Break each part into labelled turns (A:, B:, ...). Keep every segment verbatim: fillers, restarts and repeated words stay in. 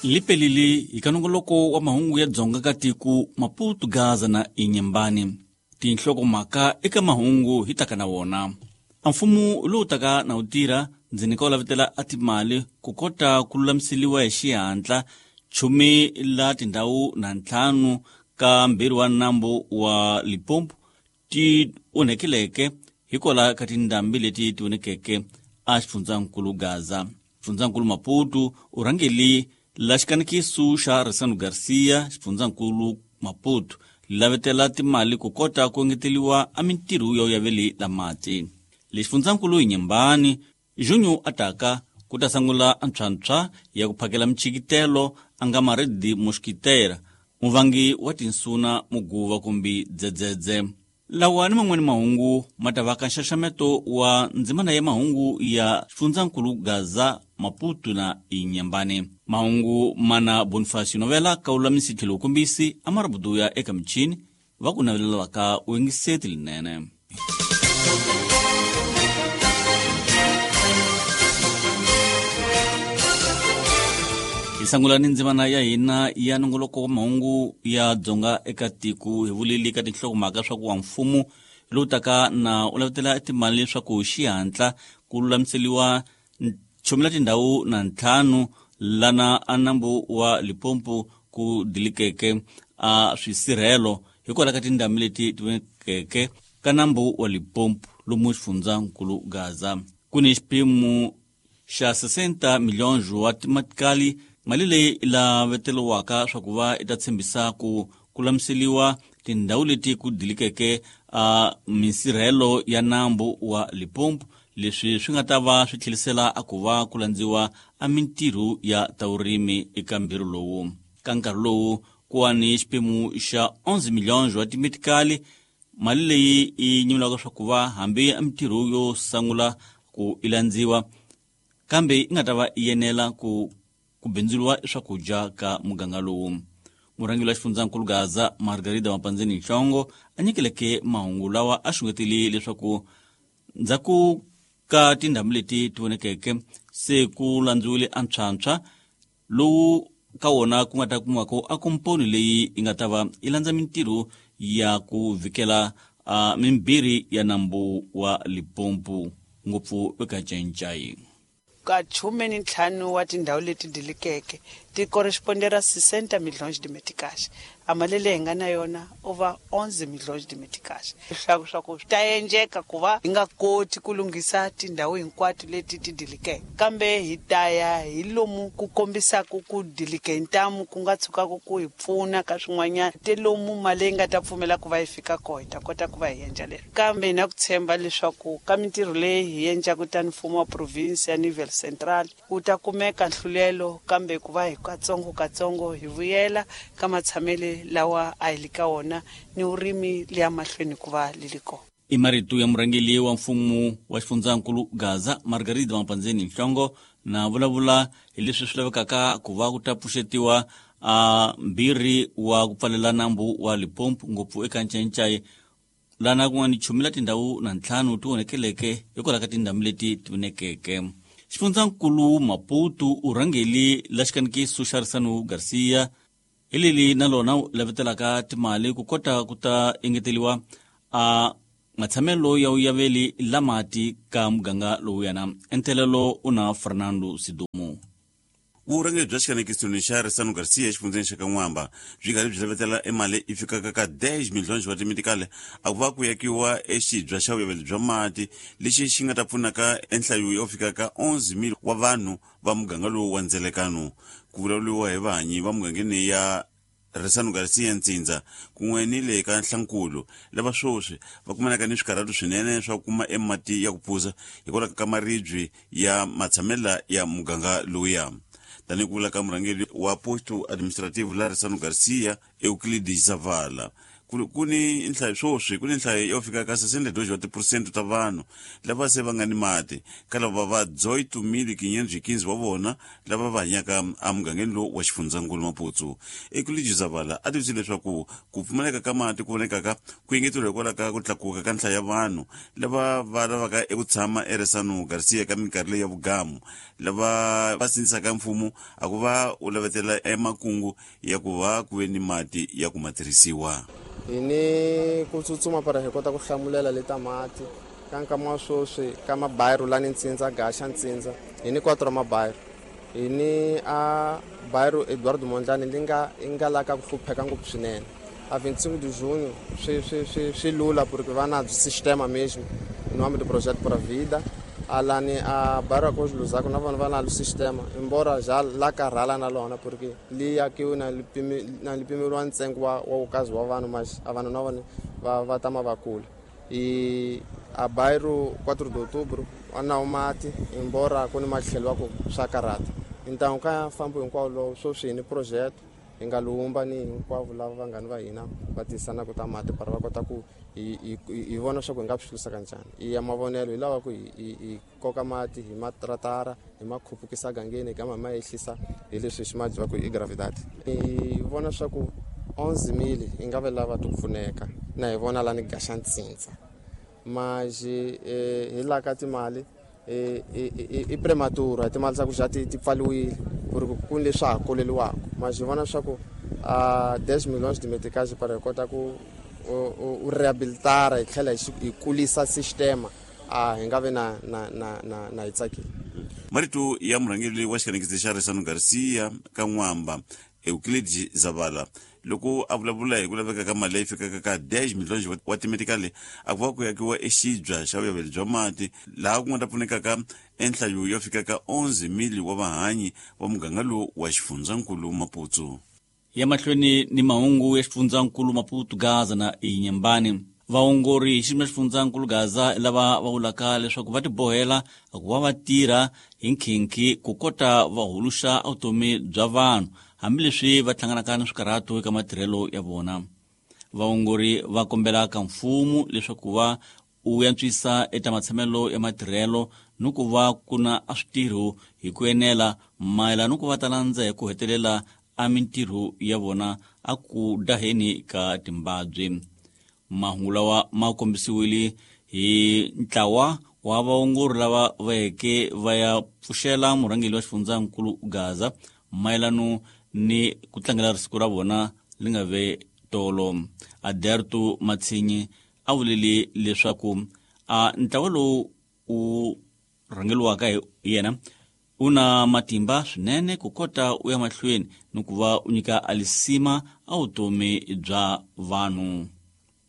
A: Lipelili hi kanongoloko wa mahungu ya Dzonga ka tiko Maputo, Gaza na Inhambane. Tinhlokomhaka eka mahungu hi taka na wona. A mfumo lowu taka na wu tirha ndzi nyika wu lavetela a timali ku kota ku lulamiseliwa hi xihatla chumi la tindhawu na ntlhanu ka mbirhi wa nambu wa Limpopo ti onhekeleke hikwalaho ka tindhambi leti ti onhekeke a xifundzankulu Gaza. Xifundzankulu Maputo u rhangeli la xikanekiso xa Ressano Garcia. Xifundzankulu Maputo lavetela timali ku kota ku engeteliwa a mintirho ya uyaveli la mati. Le xifundzankulu Inhambane Junho ataka ku ta sungula antshwantshwa ya ku phakela michikitelo a nga maredi mosquiteira muvangi wa tinsuna muguva kumbe dzedzedze. Lawa ni man'wani mahungu ma ta va ka nxaxameto wa ndzimana ya mahungu ya xifundzankulu Gaza, Maputo na Inhambane. Mahungu mana Bonifacio Novela ka wulamisi tlhelo wukombisi a marabuduya eka michini va ku navelelaka u yingiseti linene. Hi sungula ni ndzimana ya hina ya nongoloko wa mahungu ya Dzonga eka tiko hi vuleli ka tinhlokomhaka swa ku wa mfumo lowu taka na u lavetela timali leswaku xihatla ku lulamiseliwa chumi la tindhawu na ntlhanu lana a nambu wa Limpopo ku dilikeke a swisirhelo hikwalaho ka tindhambi leti ti vonekeke ka nambu wa Limpopo lomu xifundzankulu Gaza. Ku ni xiphemu xa sessenta milhões wa timatikali mali leyi laveteliwaka swa ku va i ta tshembisa ku ku lulamiseliwa tindhawu leti ku dilikeke a minsirhelo ya nambu wa Limpopo. Leswi swi nga ta va swi tlhelisela a ku va ku landziwa a mintirho ya ta vurimi eka mbirhi lowu. Ka nkarhi lowu ku wa ni xiphemu xa onze milhões wa timetikali mali leyi yi nyimulaka swa ku va hambi a mintirho yo sungula ku i landziwa kambe yi nga ta va yi enela ku ku bindzuriwa swakudya ka muganga lowu. Murhangeri wa xifundzankulu Gaza Margarida Mapandzeni Nhlongo a nyikeleke mahungu lawa a xungetile leswaku ndzhaku ka tindhambi leti ti vonekeke se ku landziwile antshwantshwa lowu ka wona ku nga ta kumiwaka a komponi leyi yi nga ta va yi landza mintirho ya ku vikela uh, mimbirhi ya nambu wa Limpopo ngopfu eka Ncaincayi.
B: Ka khume ni ntlhanu wa tindhawu leti dilikeke ti correspondera sessenta milhões de meticais. A mali leyi hi nga na yona over onze milhões de meticais. Leswaku swa ku swi ta endleka ku va hi nga koti ku lunghisa tindhawu hinkwato leti ti dilikeke, kambe hi ta ya hi lomu ku kombisaka ku dilike hi ntamu ku nga tshukaka ku hi pfuna ka swin'wanyana te lomu mali leyi nga ta pfumela ku va yi fika kona hi ta kota ku va hi endla leswi. Kambe hi na ku tshemba leswaku ka mintirho leyi hi endlaka tani mfumo wa province ya nível central wu ta kumeka nhlulelo, kambe ku va hi katsongo katsongo hi vuyela ka matshamele lawa a hi li ka wona ni vurimi liya mahlweni ku va li li kona.
A: I marito ya murhangeri wa mfumo wa xifundzankulu Gaza Margarida Mapandzeni Nhlongo na vulavula hi leswi swi lavekaka ku va ku ta pfuxetiwa a mbirhi wa ku pfalela nambu wa Limpopo ngopfu eka Ncaincayi lana ku nga ni chumi la tindhawu na ntlhanu ti onekeleke hikwalaho ka tindhambi leti ti vonekeke. Xifundzankulu Maputo u rhangeli la xikanekiso xa Ressano Garcia hi leli na lona lavetelaka timali ku kota ku ta engeteliwa a matshamelo ya uyaveli la mati ka muganga lowuyana. Entelelo u na Fernando Sidumo.
C: Vurhangeri bya xikanekiso xa Ressano Garcia exifundzeni xa Kan'wamba byi karhi byi lavetela emali yi fikaka ka dez milhões wa timitikali a ku va ku yakiwa exibya xa vuyaveli bya mati lexi xi nga ta pfunaka enhlayo yo fika ka onze mil wa vanhu va muganga lowu wa ndzelekano. Ku vulavuriwa hi vahanyi va mugangeni ya Ressano Garcia Ntsindza kun'we ni le ka Nhlankulu lava sweswi va kumanaka ni swikarhatu swinene swa ku kuma emati ya ku phuza hikwalaho ka maribye ya matshamela ya muganga lowuya. Tanihi ku vula ka murhangeri wa posto administrative la Ressano Garcia Euclides Zavala, Ku ni nhlayo swoswi ku ni nhlayo yo fika ka sessenta e dois wa tiphesente ta vanhu lava se va nga ni mati ka lava va dezoito mil quinhentos e quinze wa vona lava va hanyaka emugangeni lowu wa xifundzankulu Maputo. Euclides Zavala a tivisile leswaku ku pfumaleka ka mati ku vonekaka ku engeteriwa hikwalaho ka ku tlakuka ka nhlayo ya vanhu lava va lavaka eku tshama eResano Garcia ka minkarhi leyi ya vugamu lava va sindzisaka mfumo a ku va u lavetela emakungu ya ku va ku ve ni mati ya ku ma tirhisiwa.
D: Hi ni ku tsutsuma para hi kota ku hlamulela leta mati ka nkama wa sweswi ka mabayiro lani Ntsindza Gaxa Ntsindza hi ni quatro mabayiro hi ni a bayiro Eduardo Mondlane li nga i nga la ka ku hlupheka ngopfu swinene a vinte e cinco de junho swi swi swi swi lula porque va na sistema mesmo em nome do projeto Pura Vida alani a bairro Arcos Luzako na vona va na sistema embora já la karhala na lona porque li akiwe na na lipimeriwa ntsengo wa wa ukazi wa vanhu mas a vanhu na vona va va tama va kula e a bairro quatro de outubro na mati embora ku ni matlhelo wa ku swa karhata então ka fambo hinkwawo lowu sweswi hi ni projeto hi nga lumba ni hinkwavo lava vanghani va hina va tisanaka ta mati para va kota ku hi hi hi vona swa ku hi nga swi hlurisa kanjhani i ya mavonelo hi lava ku hi hi koka mati hi matratara hi ma khupukisa gangeni hi gama ma ehlisa hi leswi xi ma dyiwaka i gravidade hi vona swa ku onze mil hi nga ve lava ti pfuneka na hi vona lani Gaxa Ntsindza mas hi la ka timali i prematura hi timali ta ku xa ti ti pfaliwile ku ri ku ni leswi ha koleliwaka mas hi vona swa ku a dez milhões de meticais para hi kota ku u rehabilitara hi tlhela hi kulisa sistema a hi nga vi na na na na na hi tsakile.
C: Marito ya murhangeri wa xikanekisi xa Resano Garcia ka N'wamba Euclides Zavala loko a vulavula hi ku laveka ka mali leyi fikaka ka dez milhões wa timetikali a ku va ku yakiwa exibya xa vuyaveli bya mati laha ku nga ta pfunekaka enhlayo yo fika ka onze mil wa vahanyi va muganga lowu wa xifundzankulu Maputo.
A: Ya mahlweni ni mahungu ya xifundzankulu Maputo Gaza na Inhambane. Vaongori hi xiyimo xa xifundzankulu Gaza lava va vulaka leswaku va tibohela ku va va tirha hi nkhinkhi ku kota va huluxa vutomi bya vanhu hambileswi va hlanganaka na swikarhato eka matirhelo ya vona. Vaongori va kombela ka mfumo leswaku va u antswisa eka matshamelo ya matirhelo ni ku va ku na a switirho hi ku enela mayelana ni ku va ta landza hi ku hetelela a mintirho ya vona a ku daheni ka timbabyi. Mahungu lawa ma kombisiwile hi ntlawa wa vaongori lava va yeke va ya pfuxela murhangeri wa xifundzankulu Gaza mayelano ni ku tlangela siku ra vona li nga ve tolo. Aderto Matsinyi a vulile leswaku a ntlawa lowu u rhangeriwaka hi yena u na matimba swinene ku kota u ya mahlweni ni ku va u nyika alisima a vutomi bya vanhu.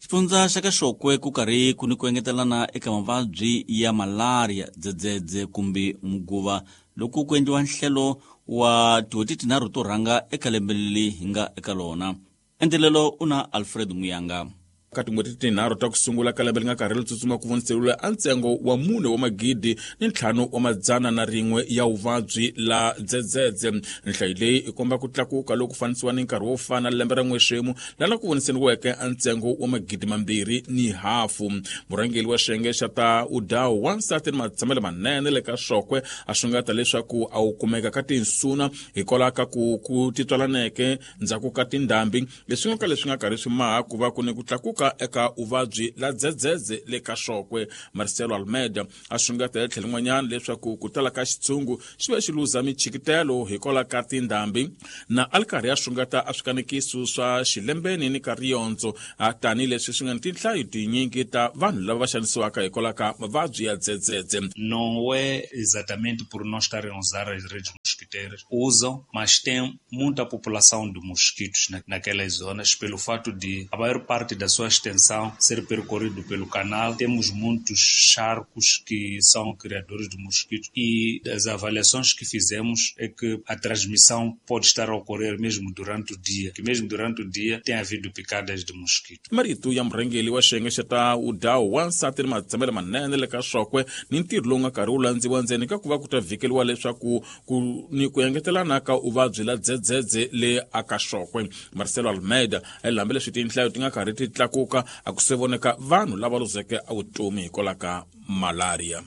A: Xifundza xa ka Xokwe ku karhi ku ni ku engetelana eka mavabyi ya malaria, dzedzedze kumbe muguva loko ku endliwa nhlelo wa tin'hweti tinharhu to rhanga eka lembe leri hi nga eka lona. Endelelo u na Alfred Muyanga.
E: Ka tin'hweti tinharhu ta ku sungula ka lembe li nga karhi li tsutsuma ku voniseriwile a ntsengo wa mune wa magidi ni ntlhanu wa madzana na rin'we ya vuvabyi la dzedzedze. Nhlayo leyi i komba ku tlakuka loku fanisiwa ni nkarhi wo fana lembe ra n'wexemu lana ku voniseriweke a ntsengo wa magidi mambirhi ni hafu. Murhangeri wa xiyenge xa ta udawu wansati ni matshamelo manene le ka Xokwe a xungeta leswaku a wu kumeka ka tinsuna hikwalaho ka ku ku titwalaneke ndzhaku ka tindhambi leswi nga ka leswi nga karhi swi maha ku va ku ni ku tlakuka eka uvabyi la dzedzedze le ka Xokwe. Marcelo Almeida a xungeta hi tlhelo rin'wanyana leswaku ku tala ka xitshungu xi ve xi luza michikitelo hikwalaho ka tindhambi na a li karhi a xungeta a swikanekiso swa xilembeni ni ka riyondzo tanihileswi swi nga ni tinhlayo tinyingi ta vanhu lava va xanisiwaka hikwalaho ka mavabyi ya dzedzedze.
F: Não é exatamente por não estarem a usar as redes mosquiteiras, usam, mas tem muita população de mosquitos naquelas zonas pelo fato de a maior parte da sua extensão ser percorrido pelo canal. Temos muitos charcos que são criadores de mosquitos e as avaliações que fizemos é que a transmissão pode estar a ocorrer mesmo durante o dia, que mesmo durante o dia tem havido picadas de mosquito.
E: Marito ya murhangeri wa xiyenge xa ta udawu wansati ni matshamelo manene le ka Xokwe ni ntirho lowu nga karhi wu landziwa ndzeni ka ku va ku ta vhikeliwa leswaku ku ni ku engetelana ka uvabyi la dzedzedze le akaxokwe. Marcelo Almeida a hambi leswi tinhlayo ti nga karhi ti tlakuka a ku se voneka vanhu lava luzeke a vutomi hikwalaho ka malaria.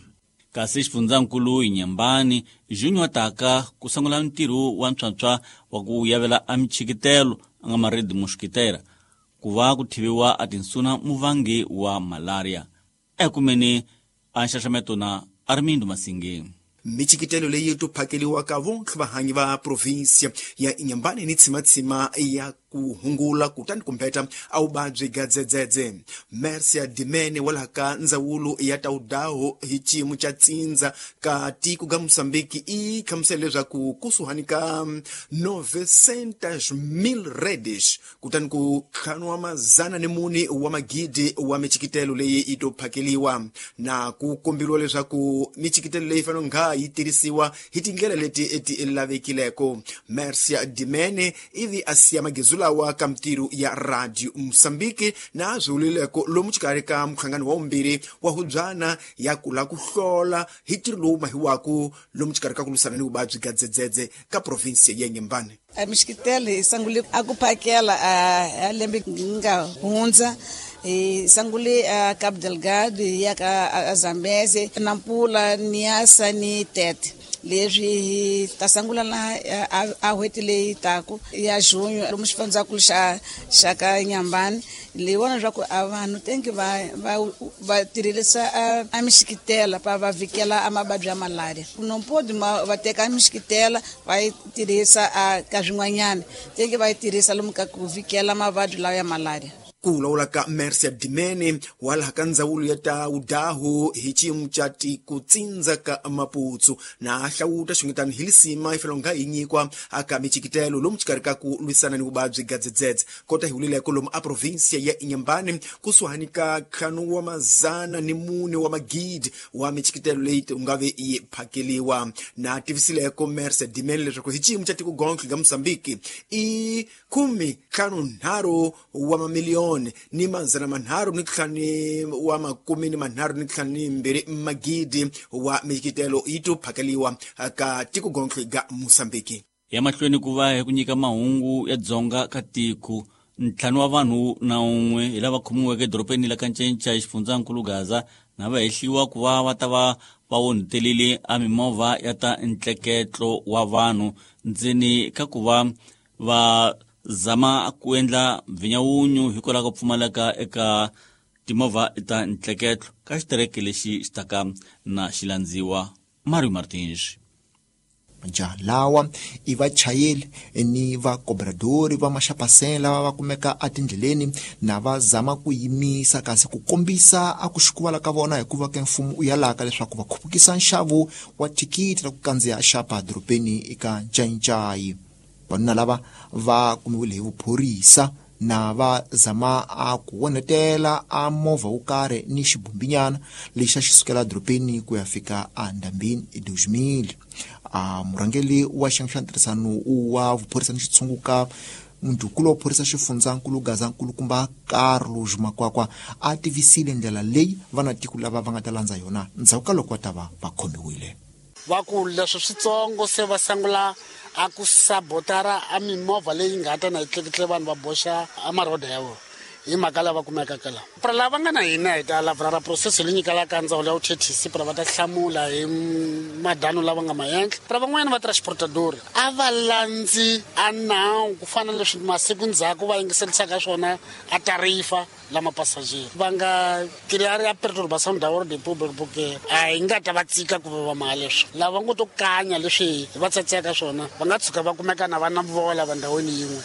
A: Kasi xifundzankulu Inhambane Junior taka ku sungula ntirho wa ntswantswa wa ku yavela a michikitelo a nga maredi mosquitera ku va ku thiviwa a tinsuna muvangi wa malaria. Ekumeni a nxaxameto na Armindo Masinge.
G: Michikitelo leyi to phakeliwaka vontlhe vahanyi va provinsia ya Inhambane ni tsimatsima ya ku hungula kutani kumbeta a vuvabyi ga dzedzedze. Mercia Dimene wa ka ndzawulo ya Taudaho hi xiyimo xa tsindza ka tiko ga Mozambique i hlamusela leswaku kusuhani ka novecentos mil redes kutani ku ntlhanu wa mazana ni mune wa magidi wa michikitelo leyi yi to phakeliwa, na ku komberiwa leswaku michikitelo leyi fanele nga yi tirhisiwa hi tindlela leti ti lavekileko. Mercia Dimene ivi a siya magezu lawa ka mintirho ya Radio Mozambique na swiwulileko lomu xikarhi ka mhlangano wa vumbirhi wa hubyana ya kula ku hlola hi ntirho lowu mahiwaku lomu xikarhi ka ku lwisana ni vuvabyi ga dzedzedze ka provinsi ya Inhambane.
H: A mixikitelo hi sungule a ku phakela a lembe nga hundza, hi sungule a Cabo Delgado hi ya ka Zambeze, Nampula, Niassa ni Tete. Leswi hi ta sungula na a n'hweti leyi taku ya junho lomu xifundzankulu xa xa ka Inhambane. Leyi vona leswaku a vanhu tenki va va va tirhisa a mixikitela pa va vikela a mavabyi ya malaria. No pode va teka mixikitela va yi tirhisa a ka swin'wanyana, tenki va yi tirhisa lomu ka ku vikela mavabyi lawa ya malaria.
G: Ku vulavula ka Mercia Dimene wa laha ka ndzawulo ya Taudaho hi xiyimo xa tiko tsindza ka Maputo na hlawuta xungetani hi lisima yi fanele nga yi nyikwa aka michikitelo lomu xikarhi ka ku lwisana ni vuvabyi ga dzedzedze. Kota hi wulileko lomu a provinsia ya Inhambane kusuhani ka ntlhanu wa mazana ni mune wa magidi wa michikitelo leyi u nga ve yi phakeliwa. Na tivisileko Mercia Dimene leswaku hi xiyimo xa tiko gontlhe ga Mozambique i khume ntlhanu nharhu wa mamiliyoni ni mazana manharhu ni ntlhanu wa makume ni manharhu ni ntlhanu ni mbirhi magidi wa michikitelo yi to phakeliwa ka tiko gontlhe ga Mozambique.
A: Ya mahlweni ku va hi ku nyika mahungu ya dzonga ka tiko, ntlhanu wa vanhu na un'we hi lava khomiweke edorobeni la Kancenca xifundzankulu Gaza na va hehliwa ku va va ta va va onhetelile a mimovha ya ta ntleketlo wa vanhu ndzeni ka ku va va zama ku endla mvinyawunyu hikwalaho ka pfumaleka eka timovha ta ntleketlo ka xitereke lexi xi taka na xilandziwa. Mario Martins.
I: Majaha lawa i vachayeri ni vakobradori va maxapasela lava va kumeka etindleleni na va zama ku yimisa kasi ku kombisa a ku xikuvala ka vona hikuva ke mfumo u yalaka leswaku va khupukisa nxavo wa thikithi ra ku kandziya xapa dorobeni eka Ncaincayi. Vanuna lava va kumiwile hi vuphorisa na va zama a ku onhetela a movha wo karhi ni xibumbinyana lexi a xi sukela dorobeni ku ya fika endhambini eDozimili. A murhangeri wa xiyenge xa ntirhisano wa vuphorisa ni xitshunguka mundhukulu wa phorisa xifundzankulu Gaza nkulukumba Carlos Makwakwa a tivisile ndlela leyi vanatiko lava va nga ta landza yona ndzhaku ka loko va ta va va khomiwile.
J: Va ku leswi switsongo se va sungula a ku sabotara a mimovha leyi nga ta na yi tleketle vanhu va boxa a maroda ya vona hi mhaka lava kumekaka laha. Pra lava nga na hina hi ta lavra ra process leyi nyikelaka ndzawulo ya vuthethisi pra va ta hlamula hi madano lava nga maendla. Pra van'wanyana va transportador a va landzi a nawu ku fana na leswi masiku ndzhaku va yingiserisaka swona a tarifa lama passager va nga clear ya perturbação da ordem pública porque a hi nga ta va tsika ku va mali leswi lava ngo to kanya leswi va tsatseka swona va nga tshuka va kumeka na va na vola va ndhawini yin'we.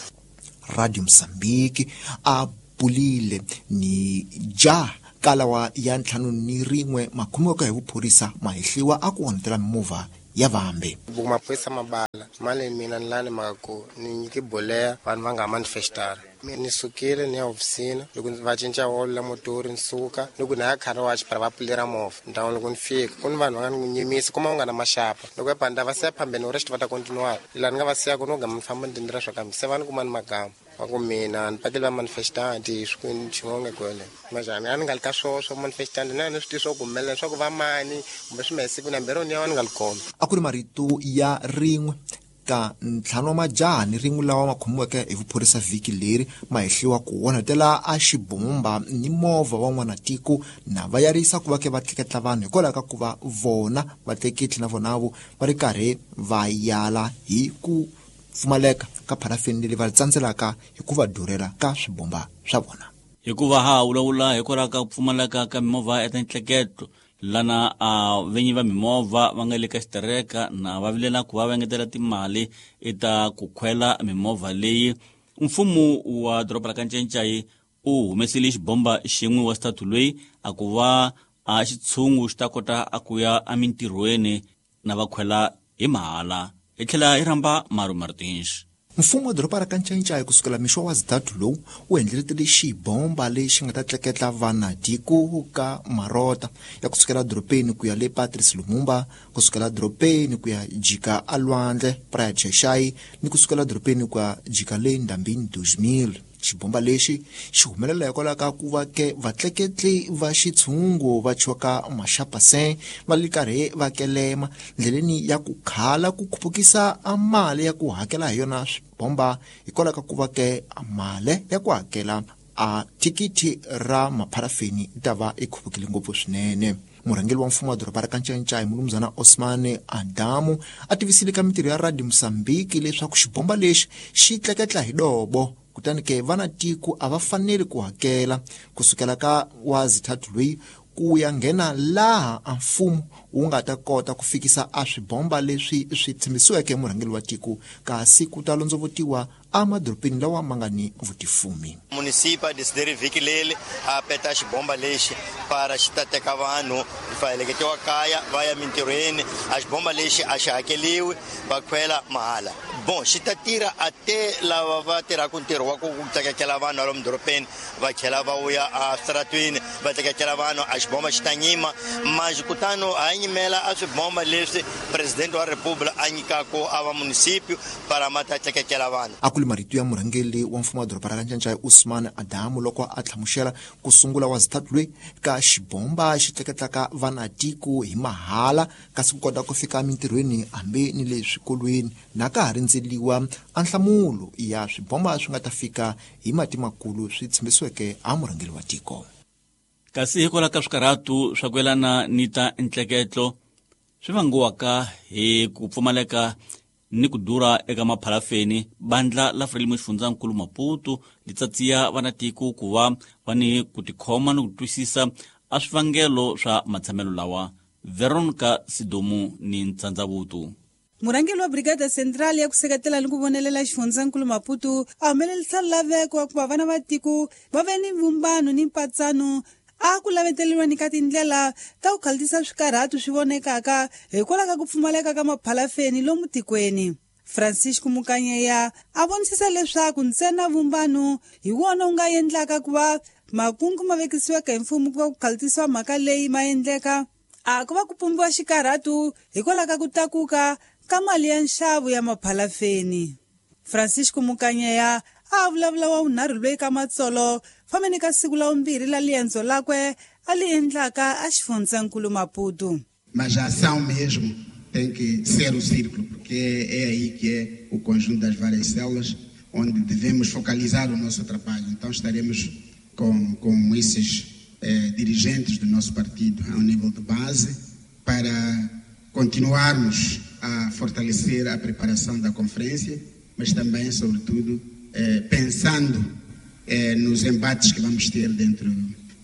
I: Radio Mozambique a pulile ni ja kalawa ya ntlhanu ni rin'we makhomiweke hi vuphorisa mahehliwa a ku onhetela mimovha ya vambe.
D: Maphorisa mabala mali mina ni lani mhaka ku ni nyike boleya vanhu va nga manifestara. Ni sukile ni ya hofisini loko va cinca wolo la motori ni suka ni ku na ya car wash para va pfulera movha ndhawu loko ni fika ku ni vanhu va nga ni nyimisa kuma u nga na maxapa loko ya panda va siya phambeni u rest va ta continue laha ni nga va siya ku no gama ni famba ni tindlela swa kambe se va ni kuma ni magama.
K: Va ku mina ni pakeli va manifestanti xin'wana kwele majani a ni nga li ka swo swo manifestanti na ni swi tivi swo ku humelela swa ku va mani kumbe swi mehe siku nambirhi ni ya ni nga li kona.
I: A ku ri marito ya rin'we ka ntlhanu wa majaha ni rin'we lawa ma khomiweke hi vuphorisa vhiki leri ma hehliwa ku onhetela a xibomba ni movha wa n'wanatiko na va yarisa ku va ke va tleketla vanhu hikwalaho ka ku va vona vatleketli na vonavo va ri karhi va yala hi ku pfumaleka ka pharafini leyi va tsandzelaka hi ku va durhela ka swibomba swa vona.
A: Hikuva ha vulavula hikwalaho ka ku pfumaleka ka mimovha ya tintleketlo lana a venyi va mimovha va nga le ka xitereka na va vilela ku va va engetela timali eta ku khwela mimovha leyi. Mfumo wa doroba ra Kanchenchayi u humesile xibomba xin'we wa xitatu loyi a ku va a xitshungu xi ta kota a ku ya emintirhweni na va khwela hi mahala. Hi tlhela hi rhamba Maru Martins.
I: Mfumo wa doroba ra Kanchenchayi kusukela mixo wa zitatu lowu wu endleletele xibomba lexi nga ta tleketla vanatiko ka marota ya kusukela dorobeni ku ya le Patrice Lumumba, kusukela dorobeni ku ya jika alwandle Praia Cheshai ni kusukela dorobeni ku ya jika le Ndambini two mil. Xibomba lexi xi humelela hikwalaho ka ku va ke vatleketli va xitshungu va choka maxapasen va le karhi va kelema ndleleni ya ku khala ku khupukisa a mali ya ku hakela hi yona swibomba hikwalaho ka ku va ke mali ya ku hakela a thikithi ra mapharafini yi ta va yi khupukile ngopfu swinene. Murhangeri wa mfumo wa doroba ra Kanchenchayi mulumuzana Osman Adamu a tivisile ka mintirho ya Radio Mozambique leswaku xibomba lexi xi tleketla hi dobo kutani ke vanatiko a va faneli ku hakela kusukela ka wa zithathu loyi ku ya nghena laha a mfumo wu nga ta kota ku fikisa a swibomba leswi swi tshembisiweke murhangeri wa tiko kasi ku ta londzovutiwa emadorobeni lawa ma nga ni vutifumi.
L: Munisipa desideri vhiki leri a peta xibomba lexi para xi ta teka vanhu va heleketiwa kaya va ya mintirhweni. A xibomba lexi a xi hakeliwi va khwela mahala. Bon xi ta tirha a te lava va tirhaka ntirho wa ku tleketlela vanhu lomu dorobeni va tlhela va vuya eswitaratwini va tleketlela vanhu. A xibomba xi ta nyima manjhe kutani a nyimela a swibomba leswi president wa republika a nyikaka a va munisipio para ma ta tleketlela vanhu.
I: A ku ri marito ya murhangeri wa mfumo wa doroba ra Kanchenchayi Usman Adamu loko a hlamusela ku sungula wa zithathu loyi ka xibomba xi tleketlaka vanatiko hi mahala kasi ku kota ku fika emintirhweni hambi ni le swikolweni na ka ha rindzeliwa a nhlamulo ya swibomba swi nga ta fika hi mati makulu swi tshembisiweke a murhangeri wa tiko.
A: Kasi hikwalaho ka swikarhatu swa ku yelana ni ta ntleketlo swi vangiwaka hi ku pfumaleka ni ku durha eka mapharafeni, bandla la Frelimo xifundzankulu Maputo li tsatsiya vanatiko ku va va ni ku tikhoma ni ku twisisa a swivangelo swa matshamelo lawa. Veronica Sidomu ni Ntsandzavutu.
M: Murhangeri wa Brigada Central ya ku seketela ni ku vonelela xifundzankulu Maputo a humelerisa laveko wa ku va vana va tiko va ve ni vumbano ni mpatsano a ku laveteriwa ni ka tindlela ta ku khaltisa swikarhatu swi vonekaka hikwalaho ka ku pfumaleka ka maphalafeni lomu tikweni. Francisco Mukanyeya a vonisisa leswaku ntsena vumbano hi wona wu nga endlaka ku va makungu ma vekisiweke hi mfumo ku va ku khaltisiwa mhaka leyi ma endleka a ku va ku pumbiwa xikarhatu hikwalaho ka ku tlakuka ka mali ya nxavo ya maphalafeni. Francisco Mukanyeya a vulavula wa vunharhu loyi ka matsolo fambeni ka siku la vumbirhi la liendzo lakwe a li endlaka a xifundzankulu Maputo.
N: Mas a ação mesmo tem que ser o círculo, porque é aí que é o conjunto das várias células onde devemos focalizar o nosso trabalho. Então estaremos com, com esses eh, dirigentes do nosso partido ao nível de base para continuarmos a fortalecer a preparação da conferência, mas também, sobretudo, eh, pensando eh, nos embates que vamos ter dentro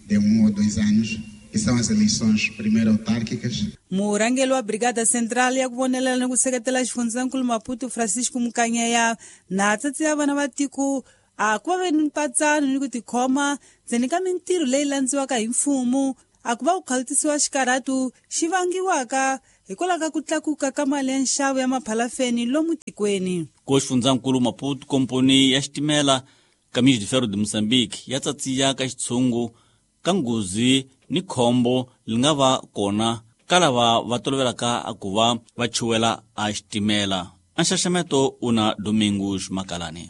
N: de um ou dois anos, que são as eleições primeiro autárquicas.
M: Murhangeri wa Brigada Central ya ku vonelela ni ku seketela xifundzankulu Maputo Francisco Mukanyeya na tsatsiya vana va tiko a ku va ve ni mpatsano ni ku tikhoma ndzeni ka mintirho leyi landziwaka hi mfumo a ku va ku khaltisiwa xikarhatu xi vangiwaka hikwalaho ka ku tlakuka ka mali ya nxavo ya maphalafeni lomu tikweni.
A: Ko xifundzankulu Maputo komponi ya xitimela Caminhos de Ferro de Moçambique ya tsatsiya ka xitshungu ka nghozi ni khombo li nga va kona ka lava va tolovelaka a ku va va chuwela a xitimela. A nxaxameto una Domingos Makalani.